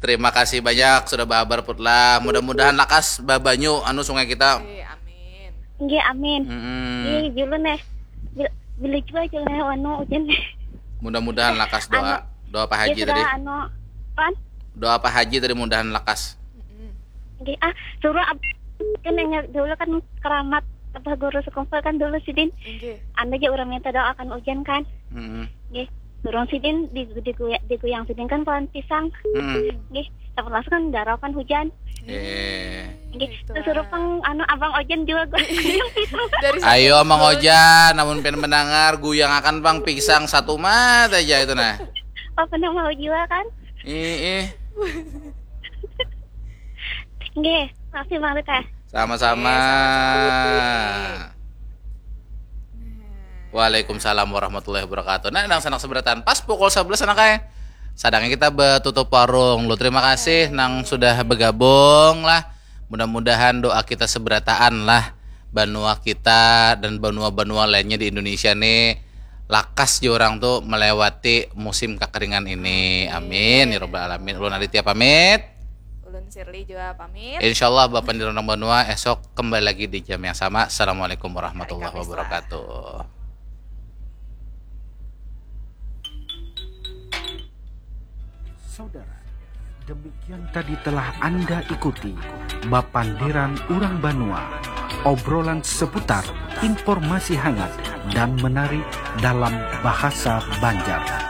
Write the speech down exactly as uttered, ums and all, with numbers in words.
Terima kasih banyak sudah bahabar Put lah. Mudah-mudahan lakas babanyu anu sungai kita. Eh, amin. Nggih, amin. Mm-mm. Nggih, julun eh. Bil- Bila jua julun eh anu ujan eh. Mudah-mudahan lakas doa. Doa Pak Ya Haji tadi. Sudah anu pan. Doa Pak Haji tadi mudahan lakas. Mm-mm. Nggih, ah, suruh ab kan yang dulu kan keramat apa guru sekumpul kan dulu sidin. Inggih. Anda aja orang minta doakan ujan kan. Mm-mm. Nggih. Suruh sidin di di, di, di guyang sidin kan pohon pisang. Mm-mm. Nggih. Dapat langsung kan darau kan hujan. Eh. Nggih. Gitu Terus suruh lah. pang anu abang ojan juga guyang pisang. Dari Ayo satu Mang gol. Ojan, namun pian mendengar guyang akan pang pisang satu mat aja itu nah. Apa nama mau jiwa kan? Ih, ih. Nggih, makasih Bang Rita. Sama-sama. Iya, sama-sama, Putri. Waalaikumsalam warahmatullahi wabarakatuh. Nah, nang sanak seberataan pas pukul sebelas anak eh. Sadangnya kita betutup warung. Lu terima kasih nang sudah bergabung lah. Mudah-mudahan doa kita seberataan lah. Banua kita dan banua-banua lainnya di Indonesia nih lakas je orang tuh melewati musim kekeringan ini. Amin ya robbal alamin. Ulun Aditya pamit. Ulun Shirley juga pamit. Insya Allah Bapak di Rondang Banua esok kembali lagi di jam yang sama. Assalamualaikum warahmatullahi Hari Kamis lah. Wabarakatuh. Saudara, demikian tadi telah Anda ikuti Bapandiran Urang Banua, obrolan seputar informasi hangat dan menarik dalam bahasa Banjar.